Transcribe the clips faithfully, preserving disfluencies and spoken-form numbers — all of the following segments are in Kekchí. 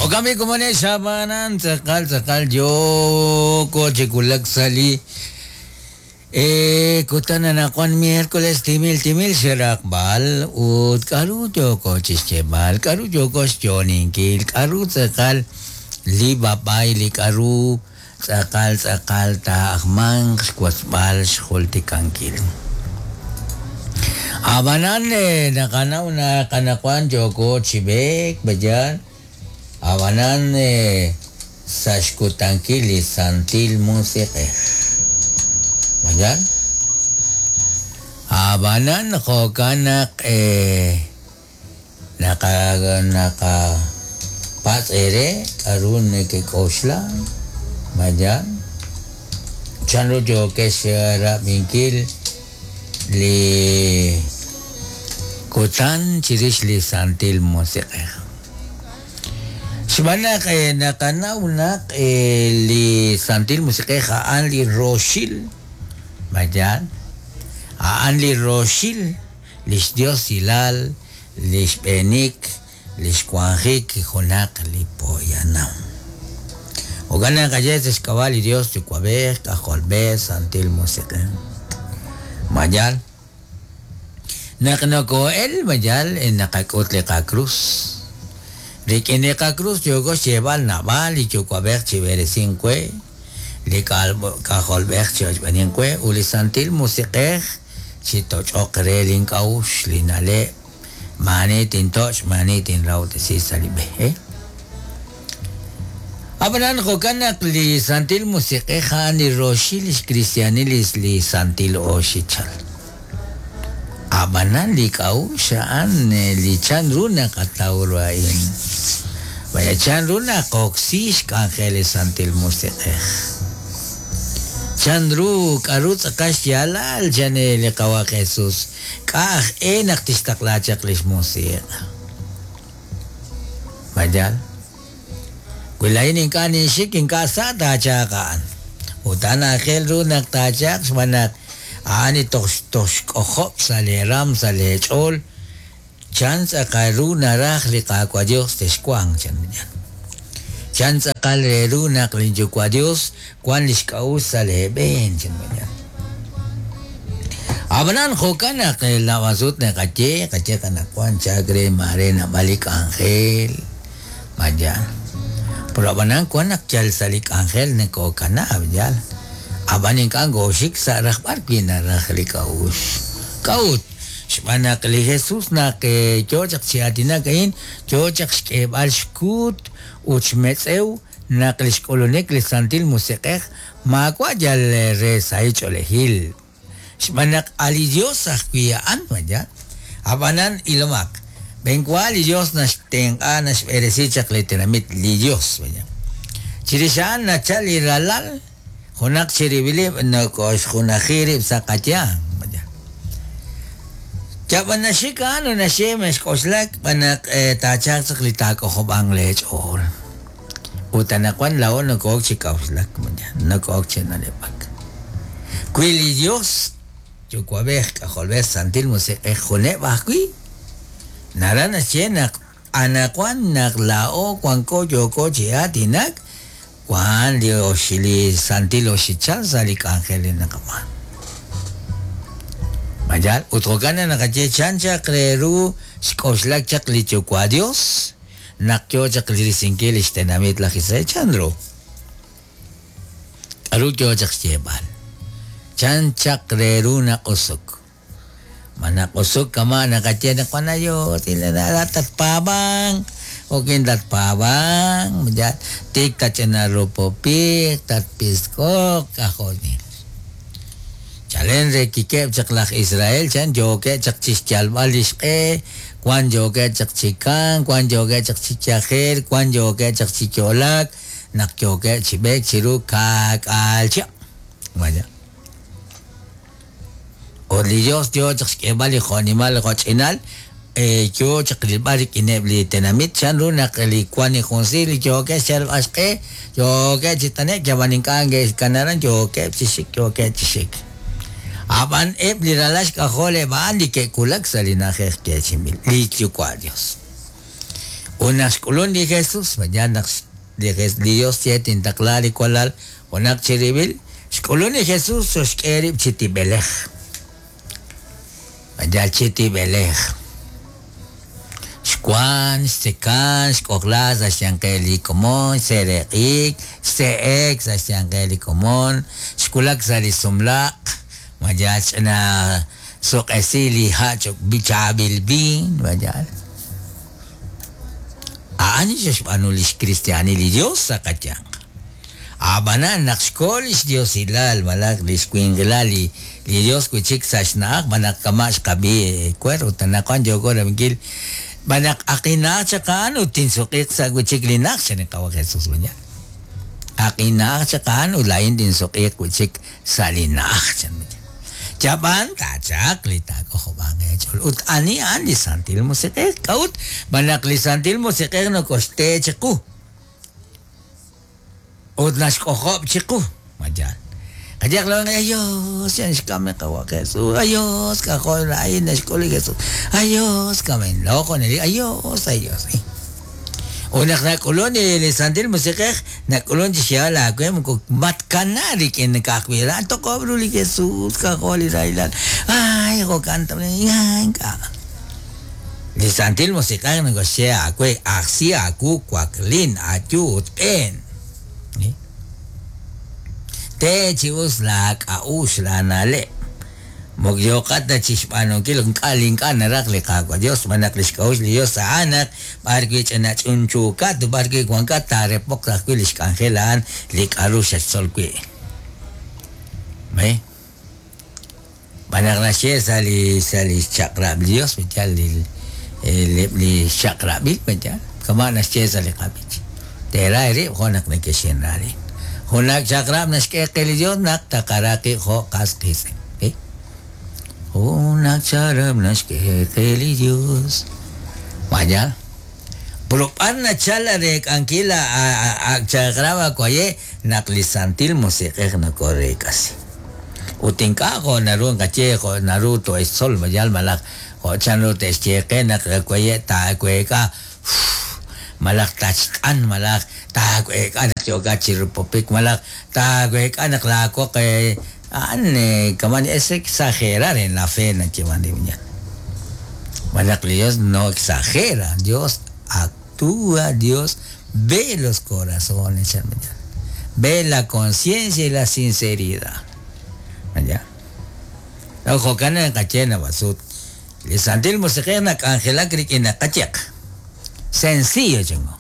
Jo'kan b'i komonex xab'anan tz'aqal tz'aqal yooko chi wulak sa' li eh kutan anaqwan miércoles timil timil xraqb'al ut k'aru yooko chi xyeeb'al, k'aru yooko xyo'oninkil, k'aru tz'aqal li b'ab'ay li k'aru tz'aqal tz'aqal taajmanq xwotzb'al xjultikankil. Ab'anan naqanaw naq anaqwan yooko chi b'eek b'ayan, ab'anan sa' xkutankil li Santil Musiq'ej. B'ayan? Ab'anan jo'kan naq naqa naqa patz' eere k'aru nekek'oxla, b'ayan? Chanru yookex rab'inkil li kutan chirix li Santil Musiq'ej. Xb'aan naq naqanaw naq li Santil Musiq'ej a'an li roxil, b'ayan? A'an li roxil lix Diosilal, lix b'eenik, lix wanjik junaq li poyanam. Jo'kan naq aye sa' xk'ab'a' li Dios Yuwa'b'ej, K'ajolb'ej, Santil Musiq'ej. B'ayan? Naq noko'el, b'ayan, naqak'ut li qakrus. Rik'in li qakrus yooko xyeeb'al naab'al li Yuwa'b'ej chi b'eresink we, li K'ajolb'ej chi ochb'eenink we, ut li Santil Musiq'ej chi toch'oq re link'a'uxl, li na'leb', maani tintoch', maani tinrawtesi sa' li b'e. Ab'anan jo'kan naq li Santil Musiq'ej a'an li roxil lix kristianil li Santil Oxichal. Ab'anan li k'a'uxl a'an li chanru naqataw ru a'in. Vaya chanru naqoksi xk'anjel li Santil Musiq'ej. Chanru k'aru tz'aqal xyaalal chan li Qawa' Jesus, k'a' aj e naq tixtaqla chaq lix musiq'. B'ayan? Wi laa'in ink'a' ninxik, ink'a' sa' taachaq a'an. Ut a'an aajel ru naq taachaq xb'aan naq a'an li toj toj xk'ojob' sa' lee ram, sa' lee ch'ool, chan tz'aqal ru naraj li Qaawa' Dios texwanq chan. Chan tz'aqal re ru naq li Yuwa' Dios wan lix k'a'uxl sa' lee b'een chan. Ab'anan jo'kan naq naab'al sut naqaye, qaye qanaqwan chak re maare naab'al li k'anjel, b'ayan. Pero ab'anan wan naq yal sa' li k'anjel nakokanaab' yal. Ab'an ink'a' ngooxik sa' rajb'al wi naraj li k'a'uxl. K'a'ut? Xb'aan naq li Jesus naq yoo chaq chi aatinak a'in, yoo chaq xk'eeb'al xkuut ut xmetz'ew naq li xk'ulunik li Santil Musiq'ej maawa' yal re sahil ch'oolejil. Xb'aan naq a li Dios ajwi' a'an, b'ayan. Ab'anan ilomaq, b'enwa li Dios naxtenq'a naxb'eresi chaq li tenamit li Dios, b'ayan. Chirix a'an nachal li ralal, junaq chirib'ilib' nokoxjunaji rib' sa' qayanq, b'ayan. Yab'an naxik a'an u naxye mexk'oxlak b'an naq taachaq chaq li taak'ojob'anq lee ch'ool. Ut anaqwan laa'o noko'ok chi k'a'uxlak, b'ayan, noko'ok chi na'leb'ak. Wi li Dios Yuwa'b'ej, K'ajolb'ej, Santil Musiq'ej juneb' ajwi', naraj naxye naq anaqwan naq laa'o wanko yooko chi aatinak, wan li oxi li Santil Oxichal sa' li k'anjel li naqab'aanu. B'ayan, ut jo'kan naq naqaye chan chaq re ru xk'oxlak chaq li Yuwa' Dios, naq yoo chaq li risinkil lix tenamit laj Israel, chan ru? K'aru yoo chaq xyeeb'al? Chan chaq re ru naq'usuk. Ma naq'usuk kama' naqaye naq wan ayo, tatpaab'anq, okin tatpaab'anq, ya tik tach'ina rupopik, tatpisk'oq, k'ajolil. Chalen re kikeb' chaq laj Israel, chan yookeb' chaq chi xyalb'al lix q'e, wan yookeb' chaq chi kan, wan yookeb' chaq chi yajel, wan yookeb' chaq chi yo'lak, naq yookeb' chi b'eek chiru ka'k'aal chihab'. Vaya. Ut li Dios yoo chaq xk'eeb'al li jo'nimal jo'ch'inal, yoo chaq rilb'al rik'ineb' li tenamit, chan ru naq li wan li junsi li yookeb' xyalb'al xq'e, yookeb' chi t'anek, yab'an ink'a' nge'xkanaran, yookeb' chi xik, yookeb' chi xik. Ab'an eb' li ralal xk'ajol eb' a'an li ke'wulak sa' li na'ajej yeechi'inb'il, li Yuwa' Dios. Ut naq xk'ulun li Jesus, mañana naq li Dios ye tintaqla li walal junaq chirib'il, xk'ulun li Jesus xoxk'e rib' chi tib'elej. Mañana chi tib'elej. Xwan, xtzekan, xk'ojla sa' xyanqeb' li komon, xsereq'ik, xse'ek sa' xyanqeb' li komon, xwulak sa' li sumlaq, mañana ch'ina suq'esi li ha' chaab'il viin, mañana. A'an xe'xb'aanu lix cristianil li Dios sa' qayanq. Ab'anan naq xko lix diosilal malaj lix winqilal li li Dios wi'chik sa' xna'aj b'anaq kama' xqab'i kuer ut anaqwan yooko rab'inkil b'anaq aqina'aj chaq a'an ut tinsuq'iq sa' wi'chik li na'aj chan li Qawa' Jesus mañana. Aqina'aj chaq a'an ut laa'in tinsuq'iq wi'chik sa' li na'aj chan. Yab'an taachaq li taak'ojob'anq eech'ool ut ani a'an li Santil Musiq'ej k'a'ut b'anaq li Santil Musiq'ej nokoxte chiqu ut naxk'ojob' chiqu mañana. Qayaq lo ayos yan xkam li Qawa' Jesus ayos k'ajo' laa'in naxk'ul li Jesus ayos kamen loko neli ayos ayos. Ut naq nak'ulun li Santil Musiq'ej nak'ulun chi xyeeb'al aawe moko matkana rik'in ka'ajwi' ra toq'ob' ru li Jesus k'ajo' li rahilal ay jo'kan ay ink'a'. Li Santil Musiq'ej nokoxye aawe ajsi aawu waklin ayu ut b'een. Te chi us laak'a'ux laana'leb'. Moko yoqat ta chi xb'aanunkil ink'a' li ink'a' naraj li Qaawa' Dios b'anaq li xk'a'uxl li Dios a'an naq b'ar wi' ch'ina ch'unchuukat b'ar wi' wankat taarepoq ajwi' li xk'anjel a'an li k'a'ru xaxtzol wi'. ¿Ve? B'anaq naxye sa' li sa' li xchaq'rab' li Dios yal li li xchaq'rab'il yal kama' naxye sa' li qab'ich. Teera eerib' jo' naq neke'xinra rib'. Junaq chaq'rab' naxk'e qe li Dios naq taqara qib' jo' qas qiitz'in. Junaq chaq'rab' naxk'e qe li Dios. Vaya. Pero b'ar nachal reek'ankil ak chaq'rab' akwaye naq li Santil Musiq'ej nokoreek'asi. Ut ink'a' jo' naru nqaye jo' naru to'extzol mayal malaj jo' chanru te'xye qe naq akwaye taaweek'a malaj tachk'an malaj taaweek'a naq yookat chi rupopik malaj taaweek'a naq laawoq a'an kaman es exagerar en la fe nayeeman li viña. Malaj li Dios no exagera, Dios actúa, Dios ve los corazones, ve la conciencia y la sinceridad. ¿Ya? Jo'kan naqaye nawasut. Li Santil Musiq'ej nak'anjelak rik'in naqayeq. Sencillo chingo.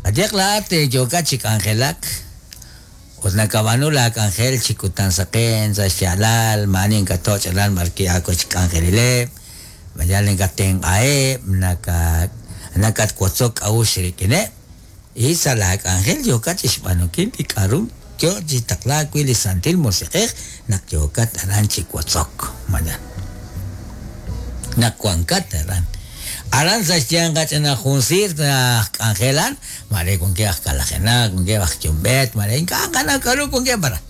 Qayeq laat yookat chi k'anjelak ut nakab'aanu laak'anjel chi kutan saqen sa' xyaalal maani inkatoch' aran b'arki aawech k'anjelileb' mayal inkatenq'aheb' naka nakatwotzok k'a'uxl rik'ineb' y sa' laak'anjel yookat chi xb'aanunkil li k'a'ru yo chi taqlaak wi' li Santil Musiq'ej naq yookat aran chi wotzok mañana. Naq wankat aran. Aran sa' xyanq ch'ina jun siir aj k'anjelan mare wankeb' aj kalajenak wankeb' aj yumb'eet mare ink'a' qanaw k'a'ru wankeb' aran.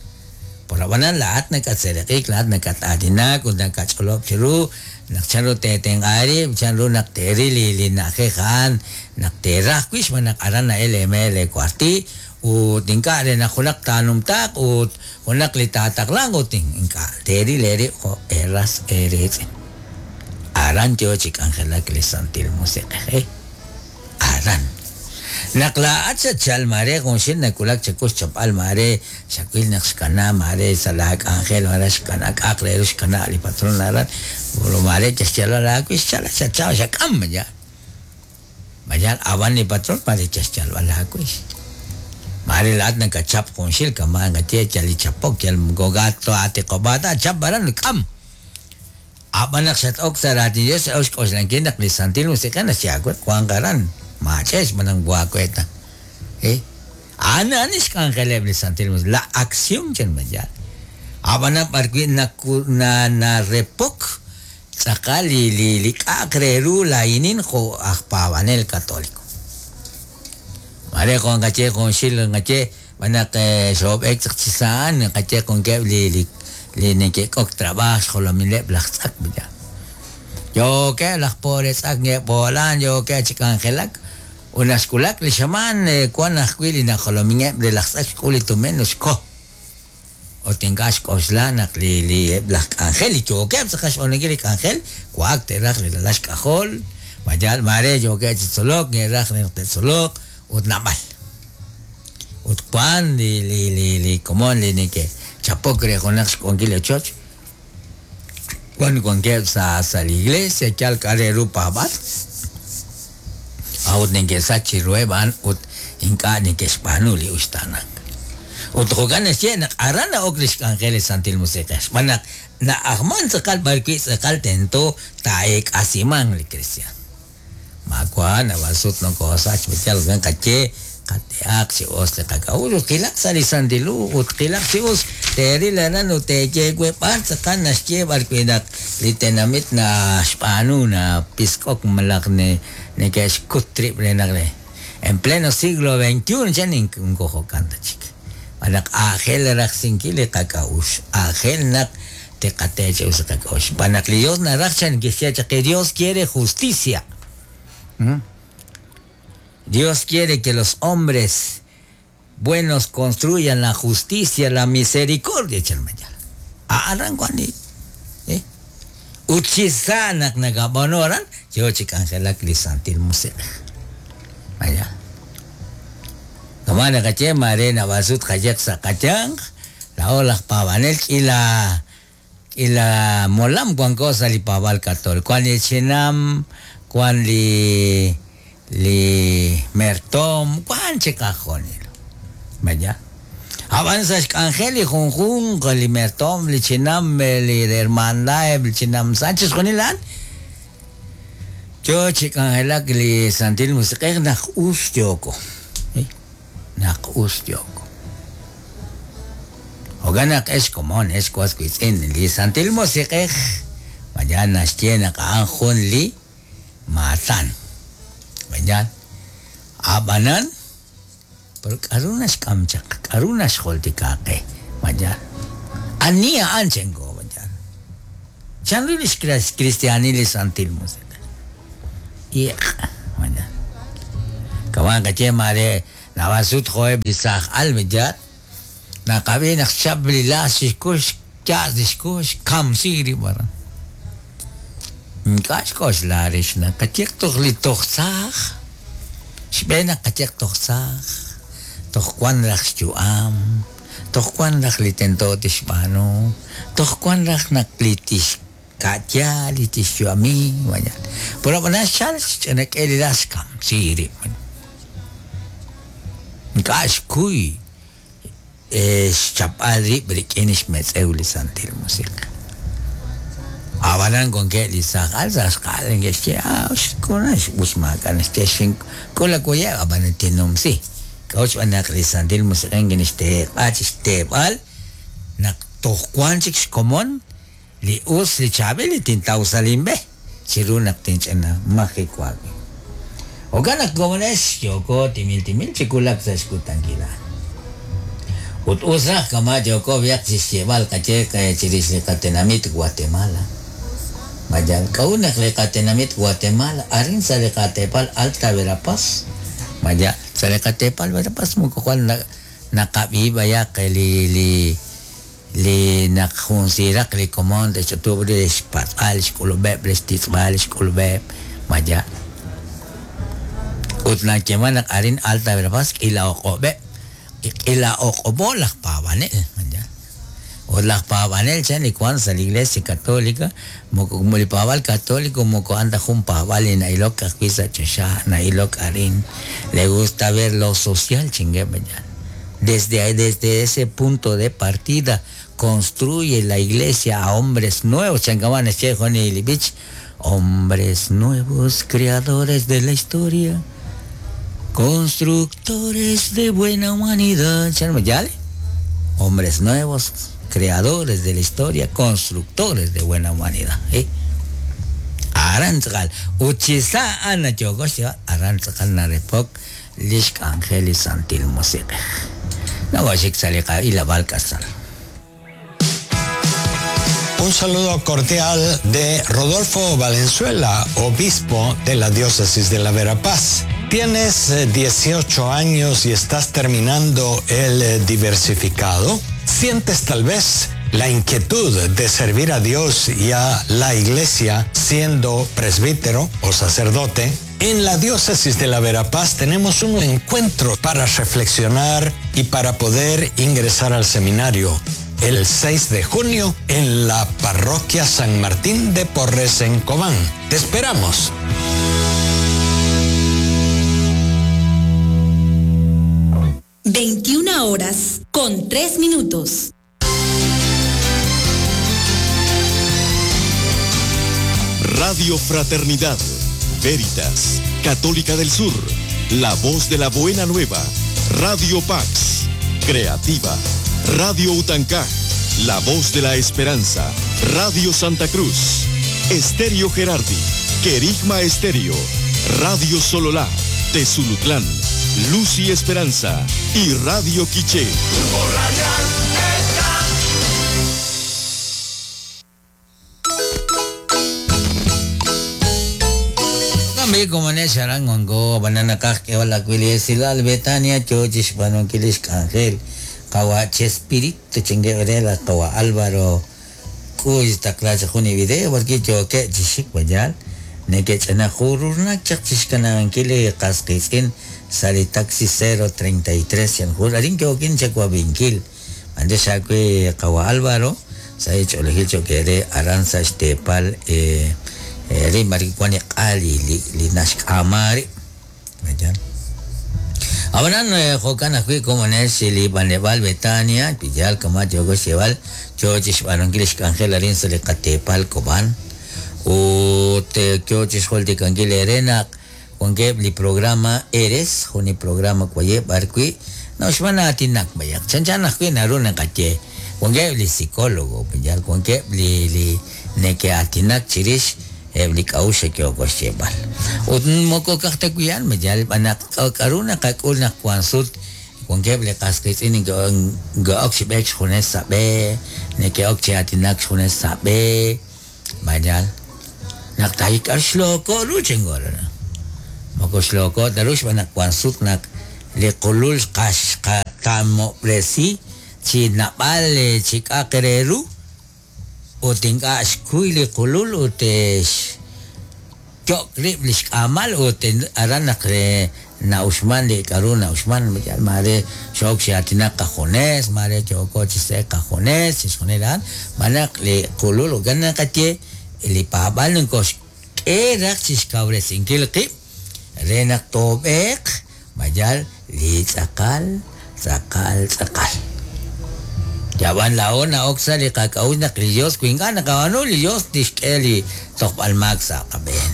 Por ab'anan laa'at nakatsereq'ik laa'at nakat'aatinak ut nakach'olob' chiru naq chanru teetenq'a rib' chanru naq teeril li li na'ajej a'an naq teeraj wi' xb'aan naq aran na'el eemeel eekuarti ut ink'a' re naq junaq taanumtaaq ut junaq li taataqlanq ut ink'a' teeril eerib' jo' eeras eeriitz'in. Aran yo chi k'anjelak li Santil Musiq'ej. Aran. Naq laa'at xachal mare junxil nawulak chaku xchapb'al mare xawil naq xkana mare sa' laak'anjel mare xkana k'a'aq re ru xkana li patron aran pero mare chaxyalal aawi' xchala xachaw xak'am ya. Mañana ab'an li patron mare chaxyalb'al aawi'. Mare laa'at nakachap junxil kama' naqaye yal li chapok yal gogato atiqob'aata chap aran k'am. Ab'an naq xat-ok sa' raatin Dios x'ok xk'oxlankil naq li Santil Musiq'ej naxye aawe wanq aran maach'ex b'anaq waaweta. Eh? A'an a'an xk'anjeleb' li Santil Musiq'ej la acción chan mayal. Ab'anan b'ar wi' naku na narepok tz'aqal li li li k'a'aq re ru laa'inin jo' aj paab'anel católico. Mare jo' nqaye junxil nqaye b'anaq xob'ek chaq chi sa'an nqaye wankeb' li li li neke'k'ok trabaaj xjolomileb' laj tz'ak ya. Yookeb' laj pobre tz'ak nge'b'oolan yookeb' chi k'anjelak Ut naxk'ulak li xamaan wan ajwi' li najolomingeb' re laj tz'ak xk'ul li tumin xko. Ut ink'a' xk'oxla naq li li eb' laj k'anjel li yookeb' tz'aqal xb'aanunkil li k'anjel waak te'raj li ralal xk'ajol, mayal mare yookeb' chi tzolok, nge'raj naq te'tzoloq ut naab'al. Ut wan li li li li komon li neke'chapok re junaq xk'unkil li ochoch, wan wankeb' sa' sa' li iglesia yal k'a' re ru paab'al, a'ut neke'sach chiruheb' a'an ut ink'a' neke'xb'aanu li uxtaanank. Ut jo'kan naxye naq aran na'ok li xk'anjel li Santil Musiq'ej, xb'aan naq na'ajman tz'aqal b'ar wi' tz'aqal tento taa'eek'asiman li kristiaan. Maawa naab'al sut nokosach yal wan qaye qate'aq chi us li qak'a'uxl ut qilaq sa' li Santil Hu ut qilaq chi us teeril aran ut teeye we b'ar tz'aqal naxye b'ar wi' naq li tenamit naxb'aanu napisk'ok malaj ne neke'xkut rib' re naq re en pleno siglo veintiuno chan inko jo'kan ta chik. B'an naq aajel rajsinkil li qak'a'uxl, aajel naq teqate chi us li qak'a'uxl. B'an naq li Dios naraj chan kixye chaq que Dios quiere justicia. ¿Mm? Dios quiere que los hombres buenos construyan la justicia, la misericordia, chalmayal. Aran kwani. Eh? Ut chi sa naq nakab'aanu aran, yo chi k'anjelak li Santil Musiq'ej. Vaya. Kama naqaye mare naab'al sut qayeq sa' qayanq, laa'o laj paab'anel k'ila k'ila molam wanko sa' li paab'al katoliko. Wan li chinam, wan li li mertom, wan chi qajunil. Vaya. Ab'an sa' xk'anjel li junjunq li mertom, li chinam, li hermandad, li chinam Sánchez chixjunil a'an, yo chi k'anjelak li Santil Musiq'ej naq us yooko. Eh? Naq us yooko. Jo'kan naq ex komon, ex was wiitz'in, li Santil Musiq'ej vaya naxye naq a'an jun li maatan. Vaya. Ab'anan, pero k'aru naxk'am chaq, k'aru naxjoltika qe, vaya. Ani a'an chenko, vaya. Chanru li xkristianil li Santil Musiq'ej. Iq, vaya. Kawan qaye mare naab'al sut jo'eb' li saaj al, vaya. Naqab'i naq xchap li laas xkux, yaas li xkux, kamsi rib' aran. Ink'a' xk'oxla rix naq qayeq toj li toj saaj, xb'een naq qayeq toj saaj, toj wan raj xyu'am, toj wan raj li tento tixb'aanu, toj wan raj naq li tixka'ya, li tixyu'ami, vaya. Pero ab'anan xchal xch'inak'e li laas xkamsi rib'. Ink'a' xkuy xchapb'al rib' rik'in xmetz'ew li Santil Musiq'ej. Ab'anan wankeb' li saaj al sa' xq'al neke'xye, ah, xk'una xb'us maak'a' naxye xink'ul awuyeb', ab'anan tinumsi. K'a'ut xb'aan naq li Santil Musiq'ej kinixteeb'a chi xteeb'al naq toj wan chik xkomon li us li chaab'il li tintaw sa' linb'e chiru naq tinch'ina majiwaak. Jo'kan naq komonex yooko timil timil chi wulak sa' xkutankil a'an. Ut us raj kama yooko b'ayaq chi xyeeb'al qaye chirix li qatenamit Guatemala. Vaya, k'a'ut naq li qatenamit Guatemala arin sa' li qateepal Alta Verapaz. Vaya, sa' li qateepal Verapaz moko jwal naqab'i b'ayaq li li li naq jun siraq li komon te'xch'utub' li xpatz'al xk'ulub'eb' li xtitz'b'al xk'ulub'eb'. Vaya. Ut nayeeman naq arin Alta Verapaz k'ila oq'ob'eb', k'ila oq'ob'o laj paab'anel. Vaya. Ut laj paab'anel chan li wan sa' li Iglesia Católica, moko li paab'al católico moko a'an ta jun paab'al li na'ilok ajwi' sa' choxa, na'ilok arin. Le gusta ver lo social, chingue, vaya. Desde ahí, desde ese punto de partida construye la iglesia a hombres nuevos. Chancaman, Juan y Bich, hombres nuevos, creadores de la historia, constructores de buena humanidad. ¿Yale? Hombres nuevos, creadores de la historia, constructores de buena humanidad. ¿Eh? Arantzakal, uchisa ana yogosh, arantzakal narepok, lishk angeli santil musique. No voy a salir y la balcazar. Un saludo cordial de Rodolfo Valenzuela, obispo de la diócesis de la Verapaz. ¿Tienes dieciocho años y estás terminando el diversificado? ¿Sientes tal vez la inquietud de servir a Dios y a la iglesia siendo presbítero o sacerdote? En la diócesis de la Verapaz tenemos un encuentro para reflexionar y para poder ingresar al seminario el seis de junio en la parroquia San Martín de Porres en Cobán. ¡Te esperamos! veintiuna horas con tres minutos. Radio Fraternidad, Veritas, Católica del Sur, La Voz de la Buena Nueva, Radio Pax, Creativa, Radio Utancá, La Voz de la Esperanza, Radio Santa Cruz, Estéreo Gerardi, Querigma Estéreo, Radio Sololá, Tezulutlán, Luz y Esperanza y Radio Quiché. Como en ese arangongo, banana casque o la cuilesilal, Betania, chochis, banonquilis, ángel, kawa Chespirito, chingueverela, kawa Álvaro, cuy, esta clase, juni video, porque yo que chishik, bayal, nequechana, jururna, chachiscananquile, casquisin, sali taxi cero treinta y tres, yanjur, arinquioquin, chacuabinquil, mandesacue, kawa Álvaro, saich, olegil, choquere, aranza, estepal, eh, ri marikwani qali li li nashk'amari vayan abanan jokan ajwi como nes li banebal Betania pillal kama yogo xebal chochix b'anonkil xk'anjel arin sa li qatepal Cobán ut kyochix joltikankil erenaq wankeb li programa Eres jun li programa kwayeb b'arwi noxb'an aatinak bayaq chanchan ajwi naru naqaye wankeb li psicólogo pillal wankeb li li neke'aatinak chirix ebli k'a'uxl xe'k'oxcheb'al ut moko kajtakuyan meyal b'anaq k'aru naqak'ul naq wan sut wankeb li qas qiitz'in nke'ok chi b'eek xjunes sa' b'e neke'ok chi aatinak xjunes sa' b'e mayal naq taayik'ar xlooko' ru chingorana moko xlooko' ta ru xb'anaq wan sut naq li qulul qaxqatamob'resi chi nab'al chi k'aq re ru ut ink'a' xkuy li qulul ut xyo'k rib' li xk'amal ut aran naq na'uxman li k'aru na'uxman mare xook chi aatinak qajunes mare yooko chi se'ek qajunes chixjunil a'an b'anaq li qulul jo'kan naqaye li paab'al nkoxk'e raj chi xkawresinkil qib' re naq toob'eeq mayal li tz'aqal tz'aqal tz'aqal Yaban la ona oxa li qak'a'uxl naq li Dios kuink'a' naqab'aanu li Dios tixk'e li tojb'al maak sa' qab'een.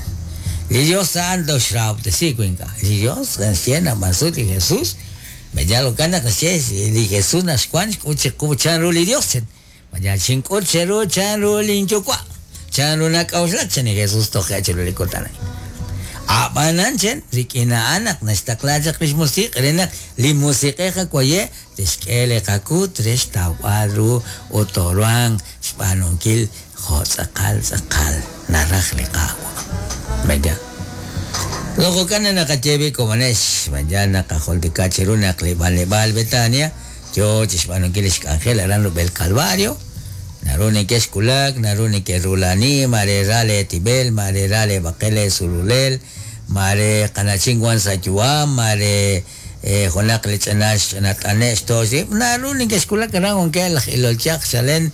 Li Dios a'an toxrahob'tesi kuink'a'. Li Dios naxye naq b'ansut li Jesús meyal jo'kan naq naxye li Jesús naxwan xk'ut chiqu chan ru li Dios chen. Mayal xink'ut cheru chan ru linyuwa' chan ru nak'a'uxlak chen li Jesús toje' chiru li kutan a'in. Ab'anan chen rik'in a'an naq naxtaqla chaq lix musiq' re naq li musiq'ej akwaye tixk'e li qakut re xtawb'al ru ut tooruhanq xb'aanunkil jo' tz'aqal tz'aqal naraj li Qaawa'. Vaya. Jo'kan naqaye bi komonex vaya naqajoltika chiru naq li b'anleb'aal Betania yo chi xb'aanunkil lix k'anjel aran rub'el Calvario naru neke'xkulak naru neke'rulani mare ra le tibel mare ra le baqel sululel mare qanachin wan sa yu'am mare junaq li ch'anax ch'anat'ane'x toxib naru neke'xkulak aran wankeb' laj ilolchaq chalen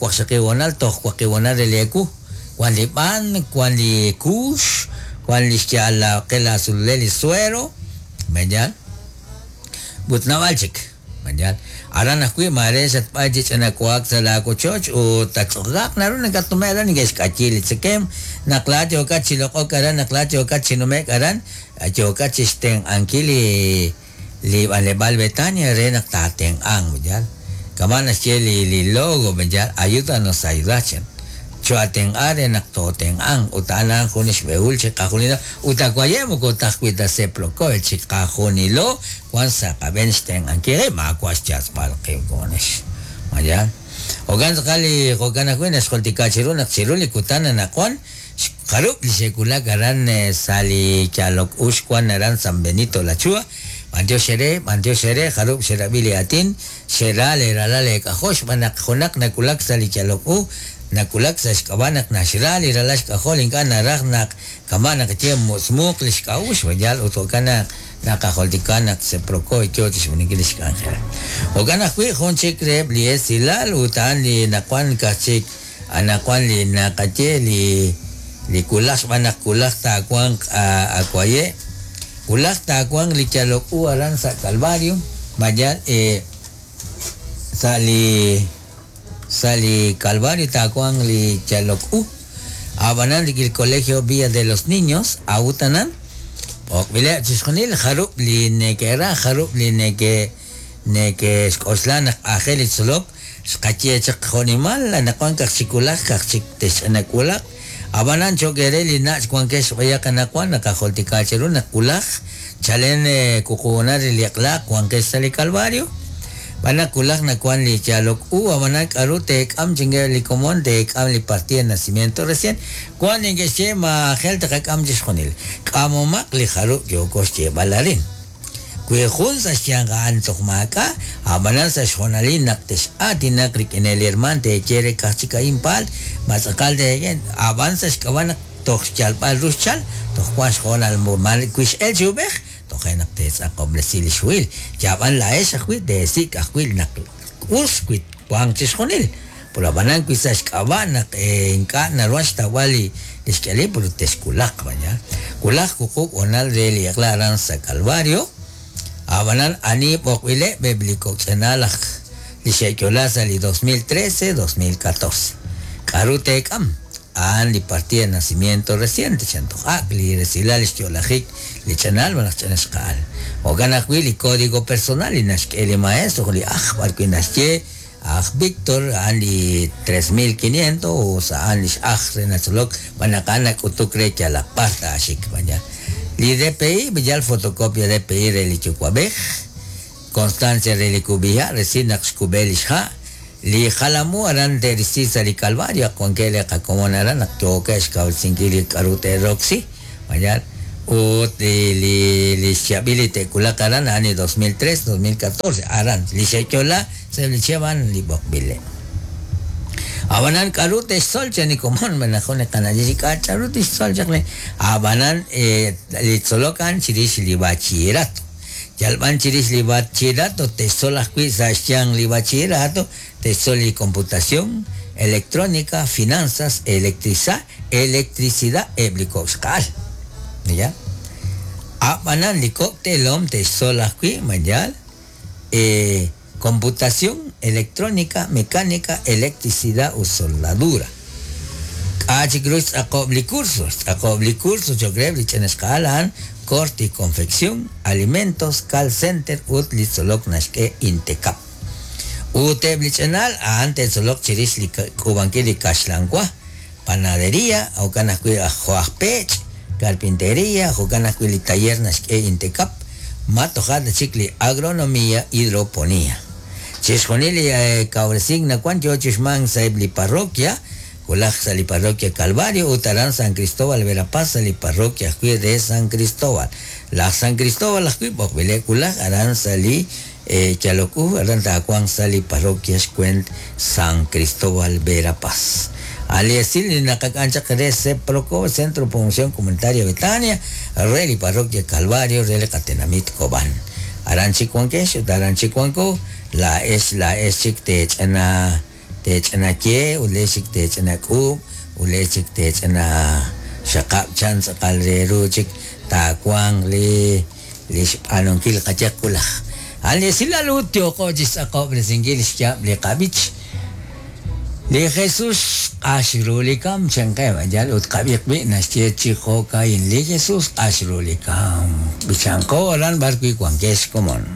waqxaqiwanal toj waqiwanal re li eku wan li b'an wan li kuux wan li xya'al la qel la sululel li suero mañan but nab'al chik mañan aran ajwi' mare xatb'ay chi ch'anakuak sa laakochoch ut tatz'oqaq naru nakatnume' aran neke'xk'ayi li tzekem naq laat yookat chi loq'ok aran naq laat yookat chi nume'k aran yookat chi xtenq'ankil li li b'anleb'aal Betania re naq taatenq'anq mayal kama naxye li li logo mayal ayúdanos a ayudar chen choatenq'a re naq tootenq'anq ut a'an a'an jun xb'ehul chi qajunilo ut akwaye moko tajwi' ta seploko chi qajunilo wan sa' qab'een xtenq'ankil re maawa' xyatz'b'al qib' komonex mayal jo'kan tz'aqal li jo'kan ajwi' naxjoltika chiru naq chiru li kutan anaqwan Jarub' li xe'wulak aran sa' li yalok u xwan aran San Benito La Chua b'antiox ere b'antiox ere jarub' xerab'i li aatin xera leeralal leek'ajol xb'aan naq junaq nawulak sa' li yalok u nawulak sa' xk'ab'a' naq naxra li ralal xk'ajol ink'a' naraj naq kama' naq ye mutz'muuq li xk'a'uxl yal ut jo'kan naq naqajultika naq Seproco yo chixb'aanunkil li xk'anjel. Jo'kan ajwi' jun chik reheb' li esilal ut a'an li nawan kaj chik anaqwan li naqaye li li wulaj xb'aan naq wulaj taawanq awaye' wulaj taawanq li yalok u aran sa' Calvario mayal eh, sa' li sa' li Calvario taawanq li yalok u ab'anan li Colegio Villa de los Niños awutanan b'oqb'ileb' chixjunil jarub' li neke'raj jarub' li neke neke'xk'oxla naq aajel li tzolok xqaye chaq jo'nimal anaqwan kaj chik wulaj kaj chik texch'anak wulaj ab'anan cho'q ere li nach' wankex b'ayaq anaqwan naqajultika cheru naq wulaj chalen wuquuna re li eq'laq wankex sa' li Calvario b'an naq wulaj nawan li yalok u ab'anan k'aru teek'am chinge li komon teek'am li partida de nacimiento recién wan neke'xye maajel taqak'am chixjunil k'amomaq li jarub' yooko xyeeb'al arin wi jun sa' xyanq a'an toj maak'a' ab'anan sa' xjoonalil naq tex'aatinaq rik'in li herman teeye re kaj chik a'in paal ma tz'aqal teeye ab'an sa' xk'ab'a' naq toj xyalb'al ru xchal toj wan xjoonal wi x'el chi ub'ej toje' naq teetz'aqob'resi li xhuhil yab'an laa'ex ajwi' teesik' ajwi' naq us wi wanq chixjunil pero ab'anan wi sa' xk'ab'a' naq ink'a' naruhan xtawb'al li xk'alil pero texwulaq vaya wulaj wuqub' honal re li eq'la aran sa' Calvario ab'anan ani b'oqb'ileb' eb' li kok'ch'anal aj li xe'yo'la sa' li dos mil trece dos mil catorce k'aru teek'am a'an li partida de nacimiento reciente chan toj ak' li resilal li xyo'lajik li ch'anal malaj ch'ana xqa'al jo'kan ajwi' li código personal li naxk'e li maestro li aj b'arwi' naxye aj Víctor a'an li tres mil quinientos o a'an li x'aj re natzolok b'an naq a'an nak'utuk re yalaq b'ar taaxik vaya li D P I yal fotocopia D P I re li yuwa'b'ej constancia re li kub'iha' resil naq xkub'e li xha' li jalamu aran te'risi sa' li Calvario wankeb' li qakomon aran naq yookeb' xkawresinkil li k'aru te'roksi vaya ut li li li xyab'il li te'wulaq aran a'an li dos mil tres dos mil catorce aran li xe'yo'la sa' li chihab' a'an li b'oqb'ileb'. Ab'anan k'aru te'xtzol chan li komon b'an naq jun li qana'leb' k'a k'aru tixtzol chaq li ab'anan li tzolok a'an chirix li bachillerato yalb'an chirix li bachillerato te'xtzol ajwi' sa' xyanq li bachillerato te'xtzol li computación electrónica finanzas electricidad electricidad eb' li kok' xqa'al ya ab'anan li kok' teelom te'xtzol ajwi' mayal eh computación electrónica mecánica electricidad u soldadura k'a chik ru xtz'aqob' li curso xtz'aqob' li curso cho'q reheb' li ch'ina xqa'al a'an corte y confección alimentos call center ut li tzolok naxk'e Intecap ut eb' li ch'inal a'an te'tzolok chirix li k'uub'ankil li kaxlanwa panadería jo'kan ajwi' jo' aj pech' carpintería jo'kan ajwi' li taller naxk'e Intecap ma toja' chik li agronomía hidroponía chixjunil li kawresink nawan yo chixman sa' eb' li parroquia wulaj sa' li parroquia Calvario ut aran San Cristóbal Verapaz sa' li parroquia ajwi' de San Cristóbal laj San Cristóbal ajwi' b'oqb'ileb' wulaj aran sa' li yalok u aran taawanq sa' li parroquia xkwent San Cristóbal Verapaz ali esil li naqak'an chaq re Seproco Centro Promoción Comunitaria Betania re li parroquia Calvario re li qatenamit Cobán aran chik wankex ut aran chik wanko laa'ex laa'ex chik teech'ana teech'ana ye ut le'ex chik teech'ana k'uub' ut le'ex chik teech'ana xaqab' chan tz'aqal re ru chik taawanq li li xb'aanunkil qayaq wulaj ali esilal ut yooqo chixtz'aqob'resinkil xyaab' li qab'ich li Jesús q'ax ru li kam chanqeb' yal ut qab'iq b'i' naxye chi jo'ka'in li Jesús q'ax ru li kam b'ichanqo aran b'arwi' wankex komon.